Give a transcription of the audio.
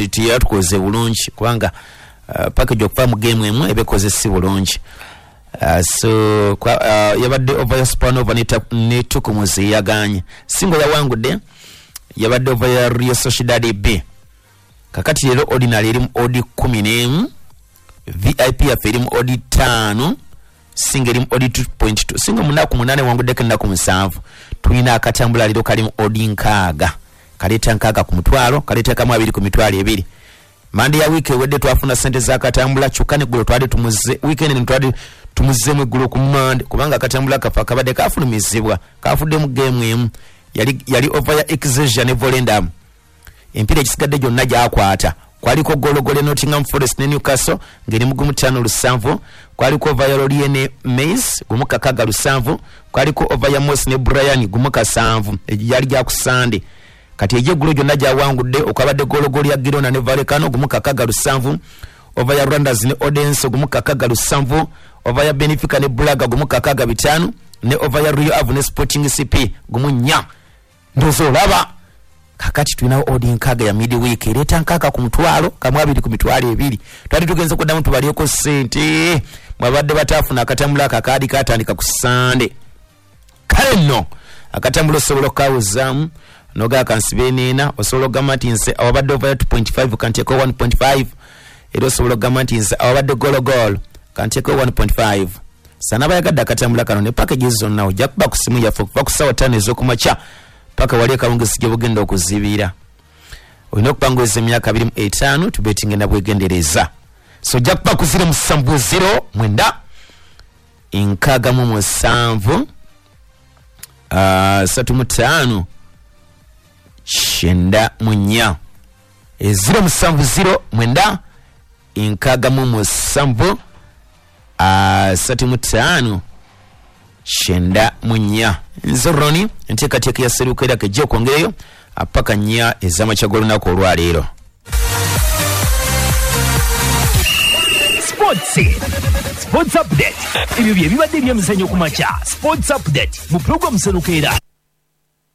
Teyatukoze bulungi kubanga package okuva mu game emu ebekoze si bulungi. So yabadde over ya Spanova ne Tukumuzi yaganye. Singo yawangudde yabadde over ya Real Sociedad B. Kakati leero ordinary erimu odi 11, VIP yaffe erimu odi 5, singa erimu odi 2.2. Singa munaku 8 wanguddeko ennaku 7. Tulina akatambula leero kalimu odi 6. Kaleeta 6 ku mutwalo, kaleeta kamu 2 ku mitwalo 2. Mande ya wiiki ewedde twafuna ssente z'akatambula, kyokka neggulo twali tumuze weekend twali tumuzeemu eggulo ku Mande kubanga akatambula kafa kabadde kafulumizibwa, kafuddemu game emu yali over ya Excelsior ne Volendam. Empiira egisigadde gyonna gyakwata. Kwaliko gologolo Nottingham Forest ne Newcastle ng'eri mu 5.7, kwaliko over ya Lorient ne Mainz 6.7, kwaliko over ya Moss ne Brian 1.7, yali gya ku Sunday. Kati egyeggulo gyonna gyawangudde okwabadde gologolo ya Girona ne Vallecano 6.7, over ya Randers ne Odense 6.7, over ya Benfica ne Braga 6.5, ne over ya Rio Ave ne Sporting CP 1.4. Ndowooza olaba kakati tulinawo odi 6 ya midweek ereeta 6 ku mutwalo kamu 2 ku mitwalo 2. Twali tugenze kuddamu tubalyeko ssente mwabadde bataafuna akatambula akakaadi katandika ku Sunday. Kale nno akatambula osobola okukawuzaamu noga kansibe neena, osobola okugamba nti nze awabadde over ya 2.5 kanteeko 1.5, era osobola okugamba nti nze awabadde gologolo kanteeko 1.5. Sana abayagadde akatambula kano ne packages zonna ojja kuba ku simu yaffe okuva ku ssaawa 5 ez'okumakya paka wali akawungezi gye bugenda okuzibira. Olina okupanguza emyaka 25 tubetinge na bwegendereza. So ojja kuba ku 070 9 67 35 94. 070 9 67 35 94. Nze Roni, enteekateeka ya Serukeera kejja okwongereyo paka 4 ez'amakya g'olunaku olwaleero. Sports Update. Ebyo bye bibadde ebyemizannyo ku makya. Sports Update mu program Serukeera.